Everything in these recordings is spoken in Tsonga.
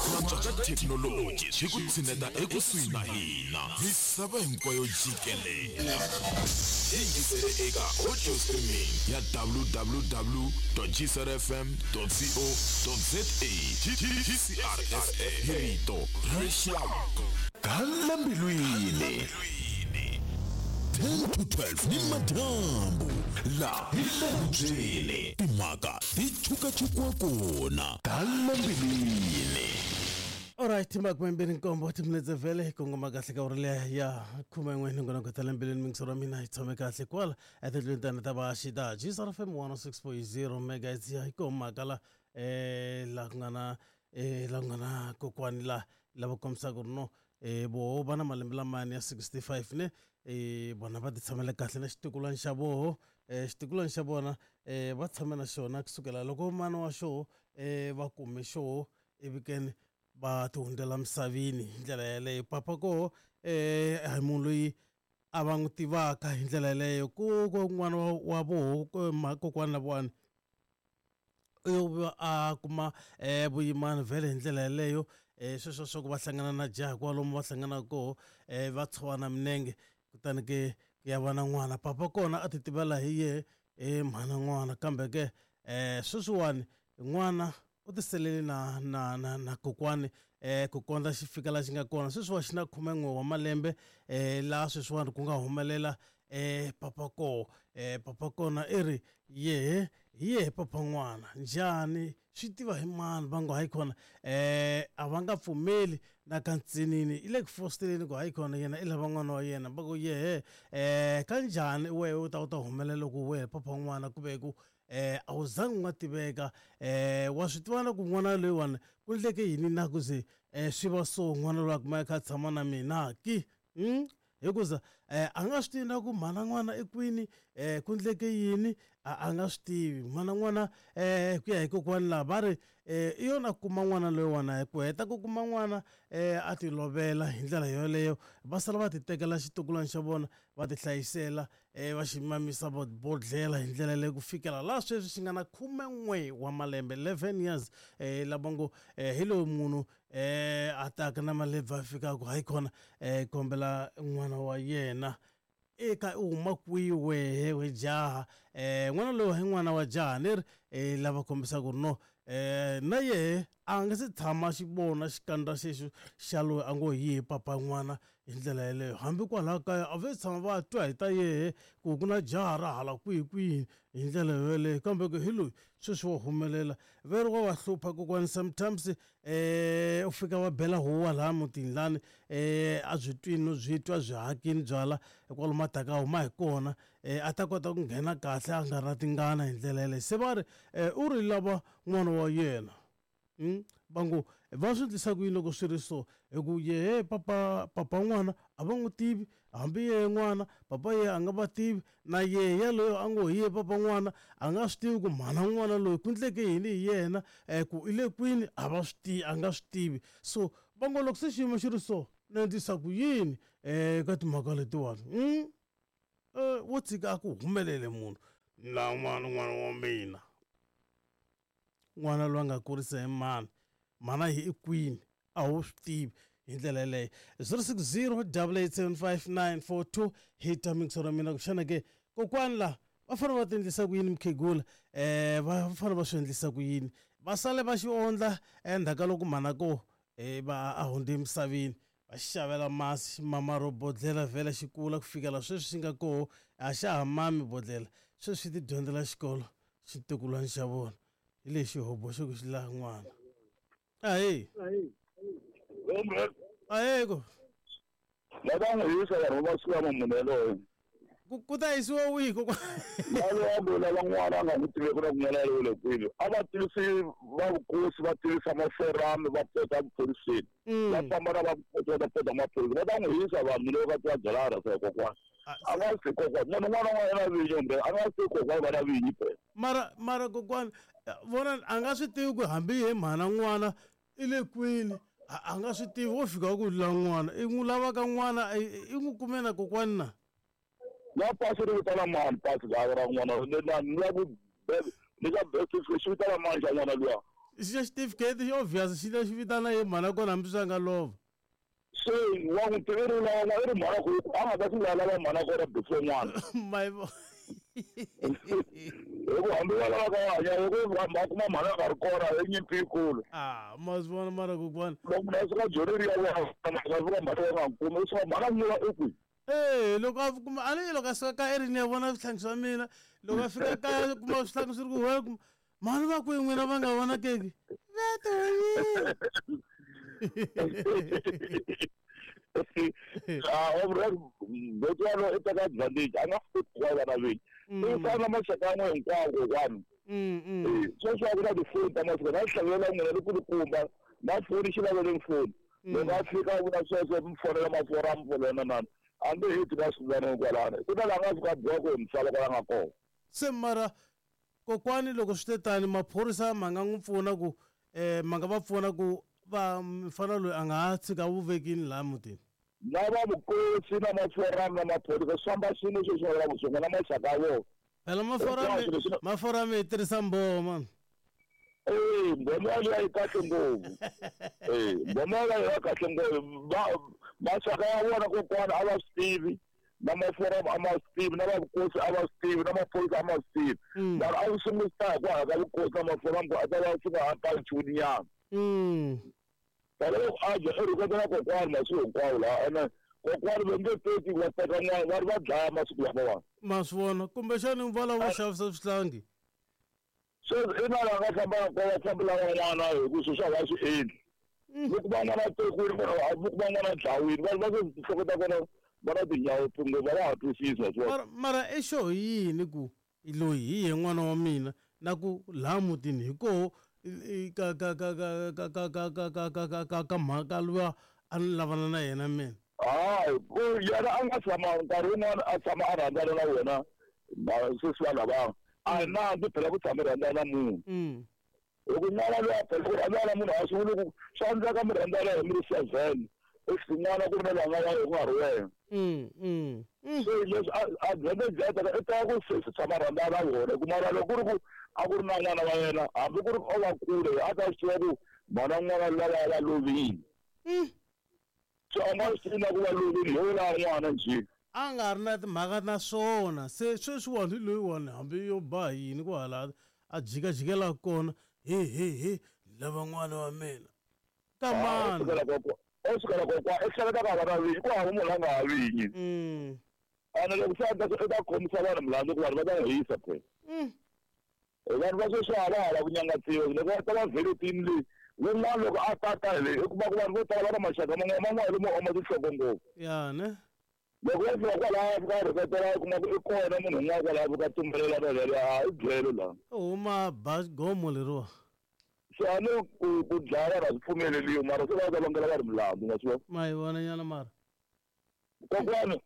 Ku antswa ka thekinoloji swi ku tshineta ekusuhi na hina misava hinkwayo jikelele. Yingisele eka audio streaming ya www.gcrfm.co.za GCRFM hi rito ra rixaka. Gala mbilwini 10 to 12 ni madyambu la hi le hubyeni timhaka ti chukachukiwa kona gala mbilwini. Alright, 27 timinetse vhele hi kongoma kahle ka uri leya ya 11 nongonoko ta le mbilwini mingisoro wa mina hi tshame kahle kwala etindlwini tani ta vaxi ta GCRFM 106.0 megahertz ya hi komaka la la ku nga na la ku nga na kokwani la lava kombisaka ku ri no voho va na malembe lamani ya 65 ne vona va ti tshamela kahle na xitukulwana xa voho xitukulwana xa vona va tshame na xona kusukela loko mana wa xoho va kume xoho ivi keni va ti hundzela misaveni hi ndlela yeleyo papa koho a hi munhu loyi a va n'wi tivaka hi ndlela yeleyo ku ku n'wana wa voho kokwana lavawani u yo va a kuma vuyimana vhele hi ndlela yeleyo sweswo swa ku va hlangana na jaha kwalomu va hlanganaka koho va tshovana minenge kutani ke ku ya va na n'wana papa kona a ti tivela hi yehe mhana n'wana kambe ke sweswiwani n'wana u tiselele na na na na kokwani ku kondza xi fika la xi nga kona sweswiwa xi na 11 wa malembe laha sweswiwani ku nga humelela papa koho papa kona i ri yehe hi yehe papa n'wana njhani swi tiva hi mani va ngo hayi khona a va nga pfumeli na ka ntsinini i le ku fosteleni ku hayi khona yena i lava n'wana wa yena va ku yehe kanjhani wehe u ta u ta humelela loko wehe papa n'wana ku ve ku a wu zangi u nga tiveka wa swi tiva na ku n'wana loyiwani ku endleke yini na ku ze swi va so n'wana loyi a kuma a kha a tshama na mina ki hikuza a nga swi tivi na ku mhana n'wana i kwini ku endleke yini a nga swi tivi mhana n'wana ku ya hi kokwani laha va ri i yona kuma n'wana loyiwani hi ku heta ku kuma n'wana a ti lovela hi ndlela yoleyo va sala va ti tekela xitukulwana xa vona va ti hlayisela va xi mamisa bodlhela hi ndlela leyi ku fikela laha sweswi xi nga na 11 wa malembe 11 years lava ngo hi lowu munhu a taka na malebvu a fikaka hayi khona kombela n'wana wa yena eka u huma kwihi wehe we jaha n'wana lowu hi n'wana wa jaha ni ri lava kombisaka ku ri no na yehe a nga se tshama xi vona xikandza xexo xa loyi a ngo hi yehe papa n'wana hi ndlela yeleyo hambi kwalaho kaya a va tshama va twa hi ta yehe ku ku na jaha ra hala kwihi kwihi hi ndlela yoleyo kambe ku hi loyi sweswi wa humelela ve ri wa va hlupha kokwani sometimes u fika va bela huwa laha mutini lani a byi twini no byi twa byi hakini byala kwalomu a taka a huma hi kona a ta kota ku nghena kahle a nga ri na tingana hi ndlela yeleyo se va ri u ri lava n'wana wa yena va ngo va swi endlisa ku yini loko swi ri so hi ku yehe papa papa n'wana a va n'wi tivi hambi yehe n'wana papa yehe a nga va tivi na yehe yaloyo a ngo hi yehe papa n'wana a nga swi tivi ku mhana n'wana loyi ku endleke yini hi yena ku i le kwini a va swi tivi a nga swi tivi so va ngo loko se xiyimo xi ri so ni endlisa ku yini ka timhaka letiwani wo tshika a ku humelele munhu na n'wana n'wana wa mina n'wana loyi a nga kurisa hi mani mhana hi i kwini a wu swi tivi hi ndlela yeleyo 060 8875942 hi ta mingiso ra mina ku xana ke kokwani la va fanele va ti endlisa ku yini mukhegula va fanele va swi endlisa ku yini va sale va xi ondla endzhaku ka loko mhana ko va a hundze emisaveni va xi xavela masi xi mama ro bodlhela vhele xi kula ku fikela sweswi xi nga koho a xa ha mami bodlhela sweswi xi ti dyondzela xikolo xitukulwana xa vona hi lexi hobo xo ku xi laha n'wana ahee ahee ko va ta n'wi yisa vanhu va masiku lama munhu yaloye ku ta yisiwa wihi kokwana yaloye loyi lava n'wana a nga n'wi tiveki na ku n'wana yaloye le kwini a va tivisi va vukosi va tivisa maforami va pota emaphoriseni va famba na va vukosi va ta pota maphorisa va ta n'wi yisa vanhu loko va twa byela rhasa hi kokwana a nga si kokwana munhu un'wana na un'wana na vinyi kumbe a nga si kokwana va na vinyi phela mara mara kokwana vona a nga swi tivi ku hambi hi mhana n'wana i le kwini a nga swi tivi wo fika ku la n'wana i n'wi lavaka n'wana i n'wi kume na kokwani na na pasi ri vitana mani pasi ra ra n'wana ni la ku ni ka birth certificate xi vitana mani xa n'wana luya. Xa xitifiketi xi obvious xi ta xi vitana ye mhana kona hambi swi a nga lova. Se wa n'wi tiva i ri lava i ri mhana ku a nga ta swi lava mhana kona before n'wana. My hi ku hambi va lava ka hanya loko va kuma mhana a nga ri kona i nyimpi yikulu. A ma swi vona mara kokwana. Loko munhu a suka Joni ri ya vona a fika mhana va nga n'wi kumi u suka mhana n'wiwa i kwihi? Ee loko a kuma a ni loko a suka kaya i ri ni ya vona swihlangi swa mina loko a fika kaya kuma swihlangi swi ri ku huwa kuma mhani va kwihi n'wina va nga vonakeki va tihonyile. Botwalo i teka advantage a nga swi koti ku va vana vinyi i fana na maxaka yan'we hinkwawo kokwani. Sweswi a ku na tifoni ta masiku na hlavelela n'wina likulukumba na foni xi laveleni foni loko a fika a vula sweswo mi fonela mafora a mi fonela na nani a nge heti na swivana kwalano ku na laha nga fika a biwa ku misava kwala nga kona. Se mara kokwani loko swi te tani maphorisa ma nga n'wi pfuna ku ma nga va pfuna ku va mfana loyi a nga ha tshika vuvekini laha mutini. Na va vukosi na maforamu na maphorisa swi famba swin'we sweswi va vulaka swona na maxaka ya vona. Phela maforamu maforamu yi tirhisa mboma mani. Ee mboma yaliya yi kahle ngopfu. Ee mboma yaliya yi kahle ngopfu va maxaka ya vona kokwana a va swi tivi na maforamu a ma swi tivi na va vukosi a va swi tivi na maphorisa a ma swi tivi. Mara a swi sunguli swi ta hi ku hala ka vukosi na maforamu ku a ta va swi nga ha paluxiwi nyana. Phela loko a dya i rhuketela kokwani masiku hinkwawo laha ene kokwani va nge teki va teka n'wana va ri va dlaya masiku lamawani. Ma swi vona kumbexani va lava xavisa swihlangi. Sweswi i na laha nga famba na kona va fambela van'wana hi ku sweswi a va swi endli. Loko va n'wana tekiwile munhu loko va n'wana dlawile vanhu va sweswi tinhloko ta kona va na tinyawo ngopfu a va ha twisisi ma swi vona. Mara i xo hi yini ku loyi hi ye n'wana wa mina na ku laha mutini hi koho ka ka ka ka ka ka ka ka ka ka ka ka ka mhaka luya a ni lavana na yena mina. Hayi ku yena a nga tshama nkarhi wun'wana a tshama a rhandzana na wena sweswi vanhu lava a hi nandzu phela ku tshama rhandzana na munhu. Loko n'wana loyi a phela ku rhandzana na munhu a swi vuli ku swa endleka mi rhandzana hi mi ri 7 if n'wana ku ri na loyi a nga wa ku nga ri wena. Se leswi advantage ya teka i teka ku sesi tshama rhandzana na vona ku mara loko ku ri ku a ku ri na n'wana wa yena hambi ku ri o va kule a ta swi tiva ku mhana n'wana lava va lovile. So a nga swi tivi na ku va lovile hi wona n'wana njhe. A nga ri na timhaka na swona se sweswiwani hi loyiwani hambi yo ba hi yini kwahala a jikajikela kona he he he lava n'wana wa mina ka mani. O sukela kokwa i hleketa ka va na vinyi ku hava munhu a nga ha vinyi. Ene loko se a ta i ta khomisa vanhu milandzu ku vanhu va ta n'wi hisa phela. Vanhu va sweswi a va ha lava ku nyangatsiwa loko va ta va vheletini leyi wun'wana loko a tata hi leyi i kuma ku vanhu vo tala va na maxaka man'wana man'wana lomu oma tinhloko ngopfu. Ya ne. Loko va fika kwalaya fika rhuketela u kuma ku i kona munhu un'wana kwalaya fika tumbelela na yena a i byele laha. U huma ba gomo leriwa. Se a ni ku ku dlaya vanhu a swi pfumeleliwi mara se va ta vangela vanhu milandzu ma swi vona. Ma yi vona nyana mara. Kokwani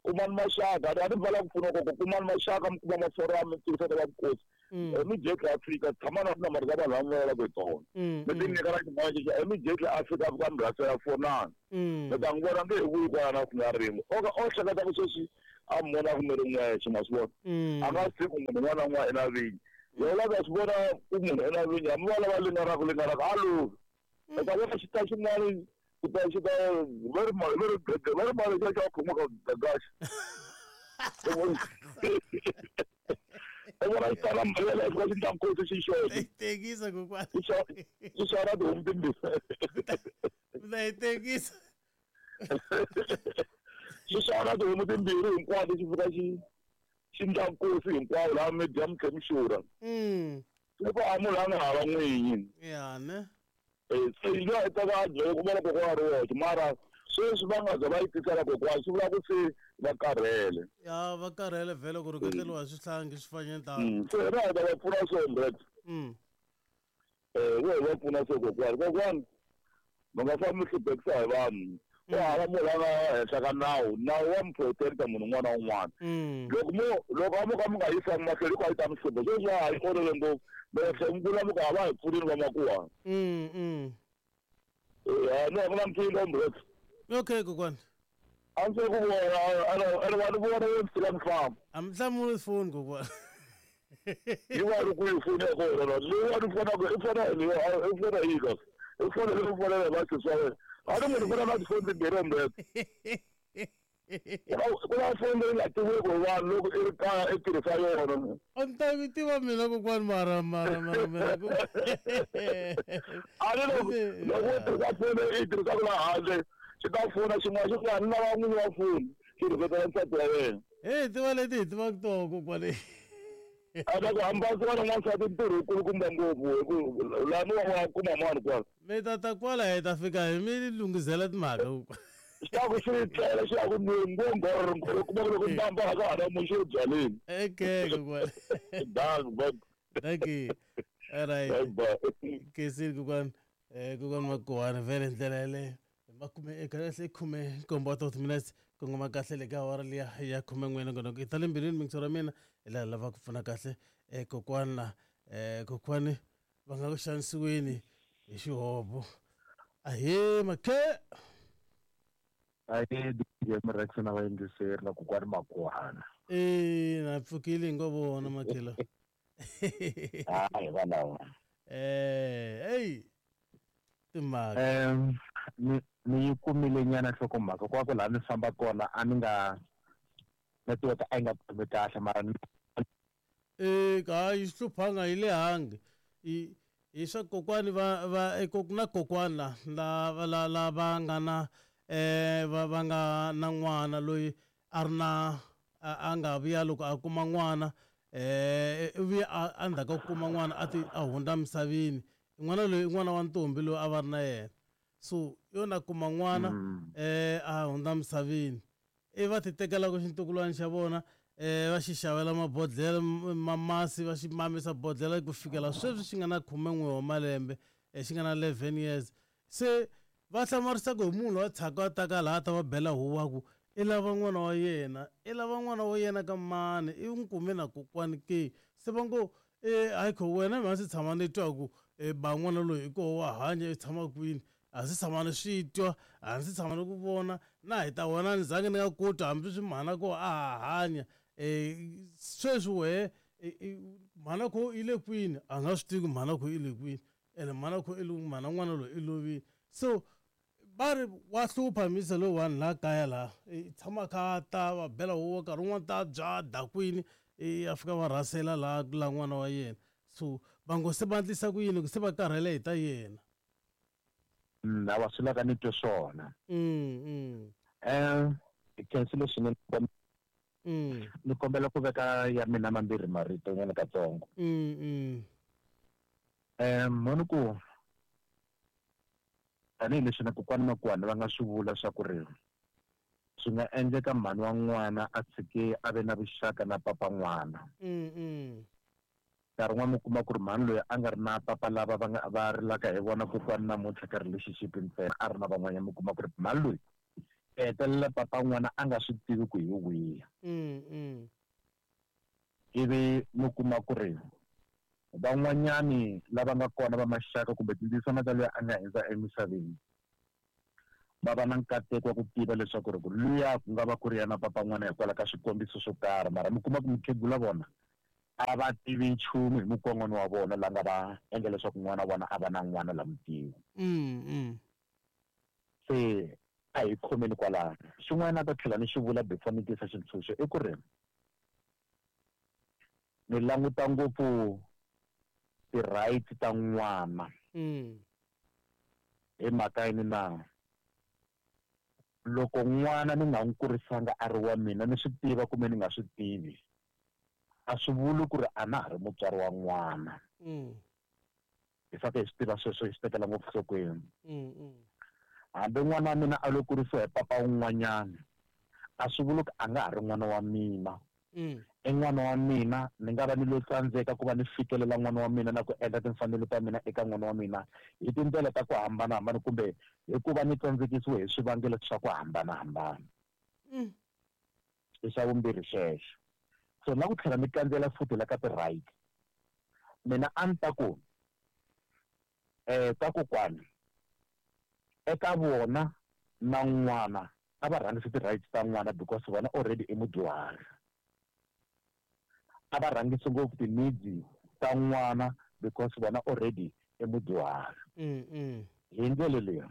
kumani maxaka a ni vala ku pfuna koko kumani maxaka mi kuma maforamu mi tivisa ta va vukosi. Immediately Africa tshama na tinambara ta vanhu lava mi vulavulaka hi tona. Mi ti nyika na xin'wana xexo immediately Africa a fika mi rhasela fonani. Mi ta n'wi vona nge he vuyi kwala na siku na rin'we. O ka o hleketa ku sweswi a mi vona ku mi ri n'wexe ma swi vona. A nga swi tivi ku munhu un'wana na un'wana i na vinyi. Loko la ta swi vona ku munhu i na vinyi hambi va lava linganaka linganaka a lovi. U ta vona xi ta xin'wana xi ta xi ta va ri va ri va ri mali xa xa khoma ka gagaxa. U vona xi tala mali yaleyo xi va xi ndla nkosi xi xoxe. Tekisa kokwani. Xi xava tihomu timbirhi. Mi ta yi tekisa. Xi xava tihomu timbirhi hinkwato xi fika xi xi ndla nkosi hinkwawo laha mi dya mi tlhe mi xurha. Loko a munhu a nga hava n'winyi. Ya ne. Se yi nga ta va byele ku vona kokwana ri woxe mara sweswi va nga za va yi tisela kokwana swi vula ku se va karhele. Ya va karhele vhele ku rhuketeriwa hi swihlangi swi fanye tano. Se hina hi ta va pfuna so Brett. Vo hi va pfuna so kokwani. Kokwani mi nga fambi mi hluphekisa hi vanhu. Ku hava munhu la nga henhla ka nawu. Nawu wa mi protect-a munhu un'wana na un'wana. Loko mo loko a mo ka mi nga yisangi mahlweni hinkwayo yi ta mi hlupha. Sweswi a yi olove ngopfu. Mi ta tlhela mi vula mi ku a va hi pfunini vamakuwa. No a ku na nkingha Brett. Okay kokwani. A ndzi se ku vona ene wa ni vona wo ni tshika ni famba. A mi hlamuli foni kokwani. Yi va ri kwihi foni ya kona la? Leyiwani i fonaka i fona i fona yini kasi? I fonele u fonela hi vasesi wa wena. A ni munhu fona na tifoni timbirhi ombete. Ku na foni leyi nga tiviweki hi vanhu loko i ri kaya i tirhisa yona. A ni ta mi tiva mina kokwani mara mara mara mina ku A ni loko loko u tirhisa foni leyi i yi tirhisaka laha handle xi ta fona xin'wana xi ku a ni lava n'winyi wa foni xi rhuketela nsati wa wena. Hey tiva leti hi tivaka toho kokwani. A ta ku hambanisiwa na n'wansati ntirho wu kulukumba ngopfu hi ku lani wa wa kuma mani kwala. Mi ta ta kwala hi ta fika hi mi lunghizela timhaka kokwani. Xi ta ku xi tlela xi ya ku nweni ngo ngorr ngorr u kuma ku loko mbamba a ka ha na munhu xi ri byaleni. Okay kokwani. Dank bye. Thank you. All right. Bye bye. Kesini kokwani. Eh kokwani Makuwani vhele ndlela yaleyo. Makume kahle 17 wa timinetse kongoma kahle le ka awara liya ya 11 nongonoko i ta le mbilwini mingisi ra mina hi laha lava ku pfuna kahle um kokwana um kokwani va nga ku xanisiweni hi xihobo ahee makhe. Ahee DJ Mrex na vayingiseri na kokwani Makuwana. E na pfukile hi ngo vona makhelo. Hayi valava. Eh hey timhaka. Ni ni yi kumile nyana nhlokomhaka kwa ku laha ni famba kona a ni nga network a yi nga khomi kahle mara ni Eh ka yi hluphanga yi le hangi. I hi swa kokwani va va e na kokwana la la la la va nga na eh va va nga na n'wana loyi a ri na a nga vuya loko a kuma n'wana eh u vuye a endzhaku ka ku kuma n'wana a ti a hundza misaveni n'wana loyi i n'wana wa ntombi loyi a va ri na yena so yo na kuma n'wana a hundza misaveni i va ti tekelaka xintukulwana xa vona va xi xavela mabodhlele ma masi va xi mamisa bodhlele ku fikela sweswi xi nga na 11 wa malembe xi nga na 11 years se va hlamarisa ku hi munhu loyi a tshaka a taka laha a ta va bela huwa ku i lava n'wana wa yena i lava n'wana wa yena ka mani i n'wi kume na kokwani ke se va ngo e hayi kho wena mina si tshama ni twa ku e ba n'wana loyi i koho wa hanya i tshama kwini a si tshama ni swi twa a ndzi tshama ni ku vona na hi ta wena ni zange ni nga ku twa hambi swi mhana ko a ha hanya um sweswi wehe mhana kho yi le kwini a nga swi tivi ku mhana kho yi le kwini ene mhana kho i mhana n'wana loyi i lovile so va ri wa hlupha misa loyiwani laha kaya laha i tshama kha a ta va bela huwa nkarhi wun'wani ta bya dakwini i a fika va rhasela laha la n'wana wa yena so va ngo se va endlisa ku yini ku se va karhele hi ta yena. Hawa swi laka ni twe swona. Hi khensile swinene ni kombela ku veka ya mina mambirhi marito nyana katsongo. Mhani ku tanihileswi na kokwani Makuwani va nga swi vula swa ku ri swi nga endleka mhani wa n'wana a tshike a ve na vuxaka na papa n'wana. Nkarhi wun'wana mi kuma ku ri mhani loyi a nga ri na papa lava va nga va rilaka hi vona kokwani namuntlha ka relationship ntsena a ri na van'wanyana mi kuma ku ri mhani loyi i hetelela papa n'wana a nga swi tivi ku hi wihi. Ivi mi kuma ku ri van'wanyani lava nga kona va maxaka kumbe tindzisana ta loyi a nga hundza emisaveni va va na nkateko wa ku tiva leswaku ri ku luya ku nga va ku ri yena papa n'wana hikwalaho ka swikombiso swo karhi mara mi kuma ku mukhegula vona a va tivi nchumu hi mukon'wana wa vona la nga va endla leswaku n'wana wa vona a va na n'wana la mutivi. Se a hi khomeni kwalano. Xin'wana a ta tlhela ni xi vula before ni tisa xintshunxo i ku ri ni languta ngopfu ti-rights ta n'wana hi mhaka yini na loko n'wana ni nga n'wi kurisanga a ri wa mina ni swi tiva kumbe ni nga swi tivi a swi vuli ku ri a na ha ri mutswari wa n'wana. Hi fanele hi swi tiva sweswo hi swi tekela ngopfu nhlokweni. Hambi n'wana wa mina a lo kurisiwa hi papa wun'wanyana a swi vuli ku a nga ha ri n'wana wa mina. I n'wana wa mina ni nga va ni lo tsandzeka ku va ni fikelela n'wana wa mina na ku endla timfanelo ta mina eka n'wana wa mina hi tindlela ta ku hambanahambana kumbe hi ku va ni tsandzekisiwe hi swivangelo swa ku hambanahambana. I xa vumbirhi xexo. So na ku tlhela ni kandzela futhi la ka ti-right mina a ni ta ku ka kokwani eka vona na n'wana a va rhangisi ti-rights ta n'wana because vona already i mudyuhari. A va rhangisi ngopfu ti-needs ta n'wana because vona already i mudyuhari. Hi ndlela leyi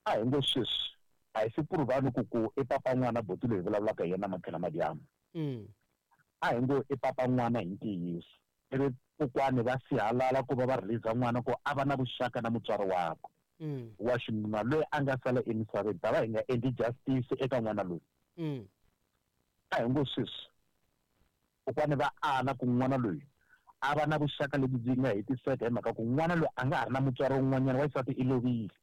a hi ngo sweswi a hi se puruvani ku i papa n'wana boti loyi hi vulavulaka hi yena matlhela madyambu. A hi ngo i papa n'wana hi ntiyiso, ivi kokwani va sihalala ku va va release n'wana ku a va na vuxaka na mutswari wakwe wa xinuna loyi a nga sala emisaveni, ta va hi nga endli justice eka n'wana loyi. A hi ngo sweswi kokwani va ala ku n'wana loyi a va na vuxaka lebyi byi nga hetiseka hi mhaka ku n'wana loyi a nga ha ri na mutswari wun'wanyana wa xisati i lovile.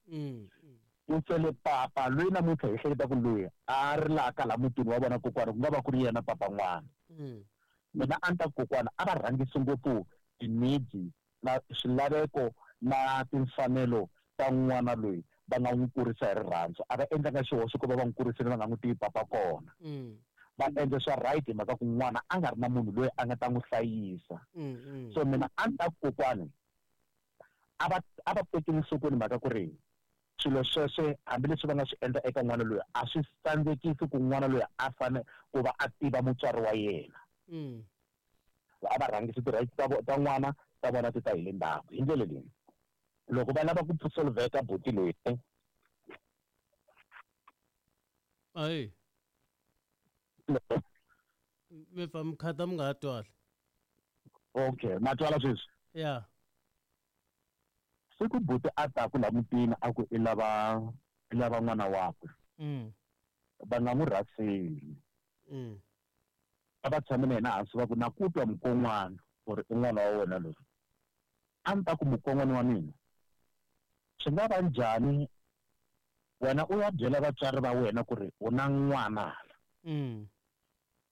U sele papa loyi namuntlha hi hleketa ku loyi a rilaka laha mutini wa vona kokwana ku nga va ku ri yena papa n'wana. Mina a ni ta ku kokwana a va rhangisi ngopfu ti-needs na swilaveko na timfanelo ta n'wana loyi va nga n'wi kurisa hi rirhandzu. A va endlanga xihoxo ku va va n'wi kurisile va nga n'wi tivi papa kona. Va endle swa right hi mhaka ku n'wana a nga ri na munhu loyi a nga ta n'wi hlayisa. So mina a ni ta ku kokwani a va tekeli enhlokweni mhaka ku ri swilo sweswe hambileswi va nga swi endla eka n'wana loyi a swi tsandzekisi ku n'wana loyi a fane ku va a tiva mutswari wa yena. A va rhangisi ti-rights ta n'wana ta vona ti ta hi le ndzhaku. Hi ndlela leyi loko va lava ku solveka buti loyi ayi mi pfa mi khata mi nga ha twali. Okay, ma twala sweswi? Yeah. Siku buti a taku la mutini a ku i lava n'wana wakwe. Va nga n'wi rhaseli. A va tshame na yena hansi va ku na ku twa mukon'wana ku ri i n'wana wa wena loyi. A ni ta ku mukon'wana wa mina swi nga va njhani wena u ya byela vatswari va wena ku ri u na n'wana hala.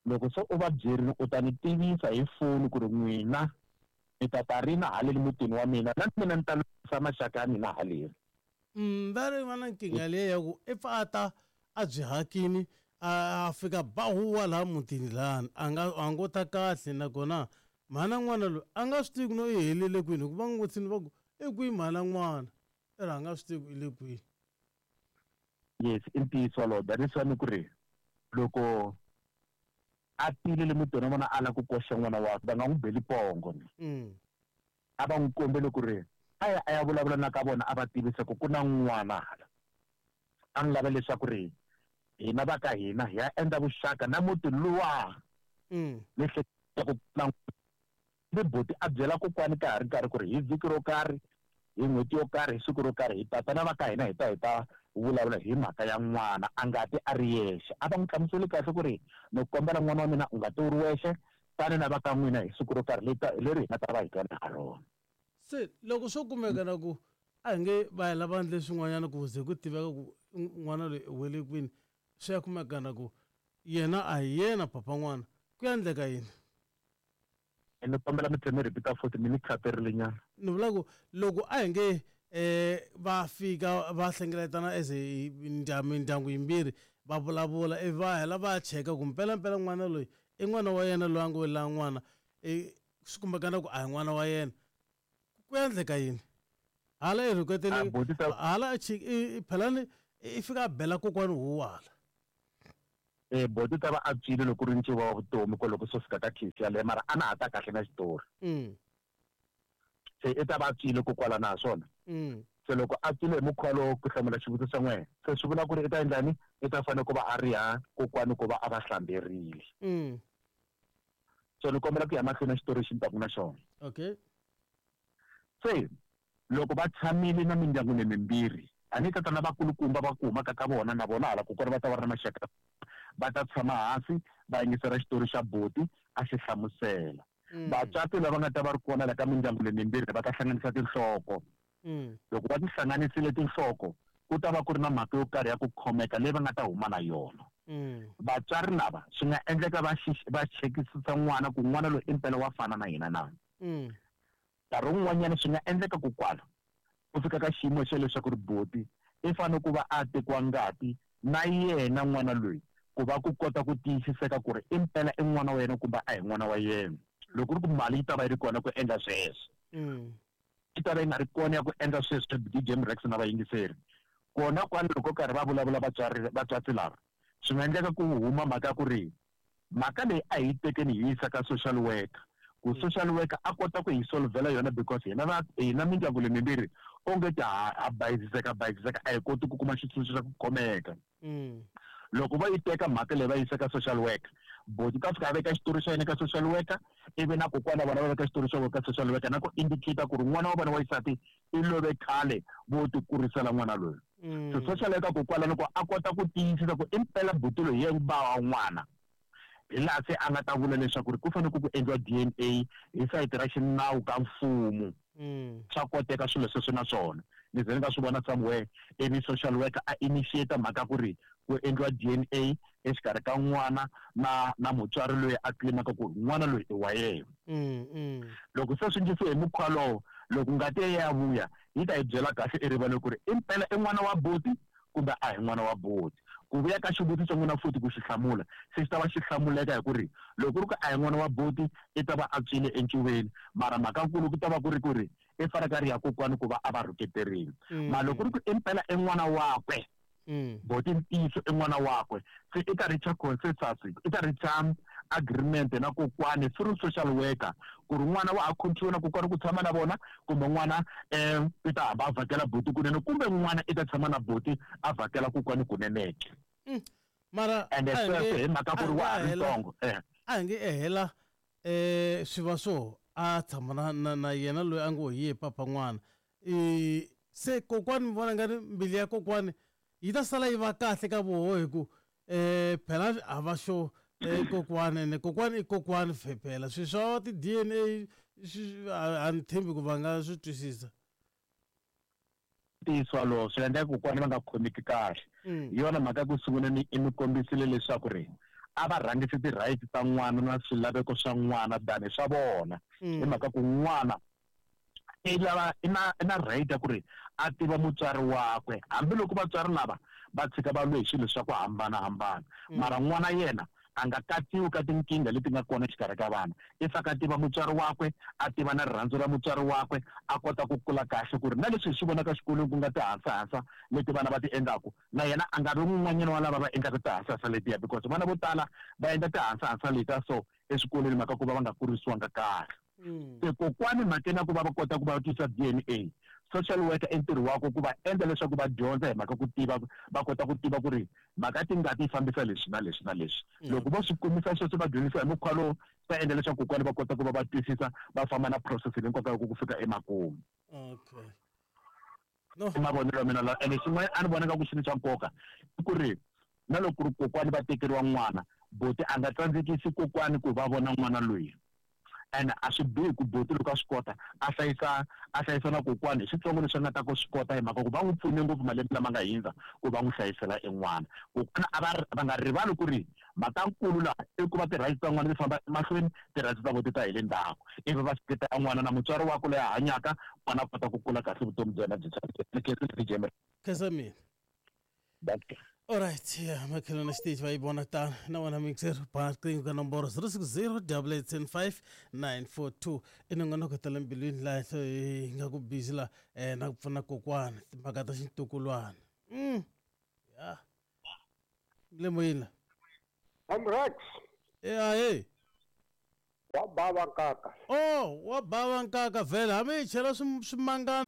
Loko se u va byerile u ta ni tivisa hi foni ku ri n'wina ni ta ta rina haleni mutini wa mina na mina ni ta lwisa maxaka ya mina haleni. Va ri va na nkingha leyi ya ku i pfa a ta a byi hakini a fika ba huwa laha mutini lahani a nga a ngo ta kahle, nakona mhana n'wana loyi a nga swi tivi ku no i helele kwini, hikuva n'wi vutisini va ku i kwihi mhana n'wana, i ri a nga swi tivi ku i le kwihi. Yes, i ntiyiso wolowo. That is why ni ku ri loko a tile le mutini wa vona a lava ku koxa n'wana wakwe va nga n'wi beli pongo ni. A va n'wi kombele ku ri a ya a ya vulavula na ka vona a va tivisa ku ku na n'wana hala. A n'wi lava leswaku ri hina va ka hina hi ya endla vuxaka na muti luwa. Ni hleketa ku na ni buti a byela kokwani ka ha ri nkarhi ku ri hi vhiki ro karhi, hi n'hweti yo karhi, hi siku ro karhi hi tata na va ka hina hi ta hi ta vulavula hi mhaka ya n'wana a nga ti a ri yexe. A va n'wi hlamuseli kahle ku ri ni kombela n'wana wa mina u nga ti u ri wexe, tani na va ka n'wina hi siku ro karhi leri hi nga ta va hi twana ha rona. Se loko swo kumeka na ku a hi nge va ya lava ndle swin'wanyana ku ze ku tiveka ku n'wana loyi u wele kwini, swi ya kumeka na ku yena a hi yena papa n'wana, ku ya endleka yini? Ni kombela mi tlhela mi repeat-a futhi mi ni khaterile nyana. Ni vula ku loko a hi nge va fika va hlengeletana as mindyangu yimbirhi va vulavula ivi va hela va cheka ku mpelampela n'wana loyi i n'wana wa yena loyi a ngo la n'wana, swi kumekana ku a hi n'wana wa yena, ku endleka yini? Hala i rhuketele hala phelani i fika a bela kokwani huwa hala. Boti ta va a tswile loko ri ncuva wa vutomi ko loko swo fika ka case yaleyo, mara a na ha ta kahle na xitori. Se i ta va a tswile kokwala na swona. Se loko a tswile hi mukhuva lowo ku hlamula xivutiso xa n'wina, se swi vula ku ri i ta endlani? I ta fanele ku va a ri ha kokwani ku va a va hlamberile. So ni kombela ku ya mahlweni na xitori lexi ni taku na xona. Okay. Se loko va tshamile na mindyangu leyi mimbirhi, a ni tata na vakulukumba va ku humaka ka vona na vona hala kokwana va ta va ri na maxaka, va ta tshama hansi va yingisela xitori xa buti a xi hlamusela. Vatswatsi lava nga ta va ri kona la ka mindyangu leyi mimbirhi va ta hlanganisa tinhloko. Loko va ti hlanganisile tinhloko, ku ta va ku ri na mhaka yo karhi ya ku khomeka leyi va nga ta huma na yona. Vatswari lava swi nga endleka va va chekisisa n'wana ku n'wana loyi i mpela wa fana na yena na. Nkarhi wun'wanyana swi nga endleka ku kwala ku fika ka xiyimo xa leswaku ri buti i fanele ku va a tekiwa ngati na yena n'wana loyi ku va ku kota ku tiyisiseka ku ri i mpela i n'wana wa yena kumbe a hi n'wana wa yena. Loko ku ri ku mali yi ta va yi ri kona ku endla sweswo, yi ta va yi nga ri kona ya ku endla sweswo DJ Mrex na vayingiseri. Kona kwala loko karhi va vulavula vatswari vatswatsi lava, swi nga endleka ku huma mhaka ya ku ri Mhaka leyi a hi tekeni hi yisa ka social worker, ku social worker a kota ku hi solvela yona, because hina va hina mindyangu leyi mimbirhi onge ti ha bayiziseka bayiziseka, a hi koti ku kuma xitshunxo xa ku khomeka. Loko va yi teka mhaka leyi va yisa ka social worker, boti ta fika a veka xitori xa yena ka social worker, ivi na kokwana vona va veka xitori xa vona ka social worker, na ku indicate ku ri n'wana wa vona wa xisati i love khale, vo ti kurisela n'wana loyi. So social worker kokwala loko a kota ku tiyisisa ku impela buti loyi hi yena ba wa n'wana, hi laha se a nga ta vula leswaku ri ku fanele ku endliwa DNA hi sayiti ra xinawu ka mfumo. Swa koteka swilo sweswo, na swona ni ze ni nga swi vona somewhere, ivi social worker a initiate mhaka ku ri ku endliwa DNA exikarhi ka n'wana na mutswari loyi a claimaka ku n'wana loyi i wa yena. Loko se swi endlisiwe hi mukhuva lowo, loko ngati ya ya vuya yi ta yi byela kahle erivaleni ku ri impela i n'wana wa buti kumbe a hi n'wana wa buti. Ku vuya ka xivutiso n'wina futhi ku xi hlamula, se xi ta va xi hlamuleka hi ku ri loko ku ri ku a hi n'wana wa buti, i ta va a tswile encuveni, mara mhaka nkulu ku ta va ku ri ku ri i fanele ka ri ya kokwani ku va a va rhuketerile. Mara loko ku ri ku impela i n'wana wakwe, boti ntiyiso i n'wana wakwe, se i ta reacha consensus, i ta reacha agreement na kokwani through social worker ku ri n'wana wa ha continue na kokwani ku tshama na vona, kumbe n'wana i ta hamba a vhakela buti kunene, kumbe n'wana i ta tshama na buti a vhakela kokwani kuneneke. Mara ende sweswo hi mhaka ku ri wa ha ri ntsongo. A hi nge ehela swi va swo a tshama na yena loyi a ngo hi ye papa n'wana, se kokwani mi vona nga ri mbilu ya kokwani yi ta sala yi va kahle ka voho, hi ku phela a va xo kokwani, ene kokwani i kokwani phela swilo swa ti-DNA a ni tshembi ku va nga swi twisisa. Ntiyiso walowo swi endleka kokwani va nga khomeki kahle. Hi yona mhaka ku sungula ni i mi kombisile leswaku ri a va rhangisi ti-rights ta n'wana na swilaveko swa n'wana than swa vona, hi mhaka ku n'wana i lava i na right ya ku ri a tiva mutswari wakwe, hambiloko vatswari lava va tshika va lwe hi swilo swa ku hambanahambana, mara n'wana yena a nga katsiwi ka tinkingha leti nga kona exikarhi ka vana. I faka a tiva mutswari wakwe, a tiva na rirhandzu ra mutswari wakwe, a kota ku kula kahle, ku ri na leswi hi swi vonaka xikolweni ku nga tihansahansa leti vana va ti endlaku, na yena a nga vi un'wanyana wa lava va endlaka tihansahansa letiya, because vana vo tala va endla tihansahansa letiya so eswikolweni mhaka ku va va nga kurisiwanga kahle. Se kokwani mhakeni ya ku va va kota ku va tisa DNA, social worker i ntirho wakwe ku va endla leswaku va dyondza hi mhaka ku tiva, va kota ku tiva ku ri mhaka tingati yi fambisa leswi na leswi na leswi. Loko vo swi kumisa sweswo, va dyondzisa hi mukhuva lowu, swi ta endla leswaku kokwani va kota ku va va twisisa, va famba na process leyi nkoka ku fika emakumu. Okay, no. I mavonelo ya mina lawa. Ene xin'wana a ni vona nga ku xilo xa nkoka i ku ri na loko ku ri kokwani va tekeriwa n'wana, boti a nga tsandzekisi kokwani ku va vona n'wana loyi, and a swi bihi ku boti loko a swi kota a hlayisa na kokwani hi switsongo leswi a nga ta ku swi kota, hi mhaka ku va n'wi pfune ngopfu malembe lama nga hindza ku va n'wi hlayisela en'wana. Kokwana a va va nga rivali ku ri mhaka nkulu laha i ku va ti-rights ta n'wana ti famba emahlweni, ti-rights ta vo ti ta hi le ndzhaku, ivi va seketela n'wana na mutswari wakwe loyi a hanyaka, n'wana a kota ku kula kahle, vutomi bya yena byi tshamiseka. Khensa mina. Dankie. Alright, yeah, makhelwane xiteji va yi vona tano na wena mixer ba riqingho ka nomboro 060 875 942. I nongonoko ta le mbilwini laha hi nga ku busy la na ku pfuna kokwana timhaka ta xintukulwana. Ya le moyeni la. Amrex. E ahe. Wa bava nkaka. Oh, wa bava nkaka vhele, hambi hi chela swimangana.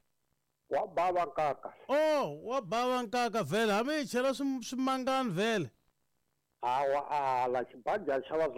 Wa bava nkaka. Oh, wa bava nkaka vhele, hambi hi chela swimangani vhele. Hawa ala xibajani xa.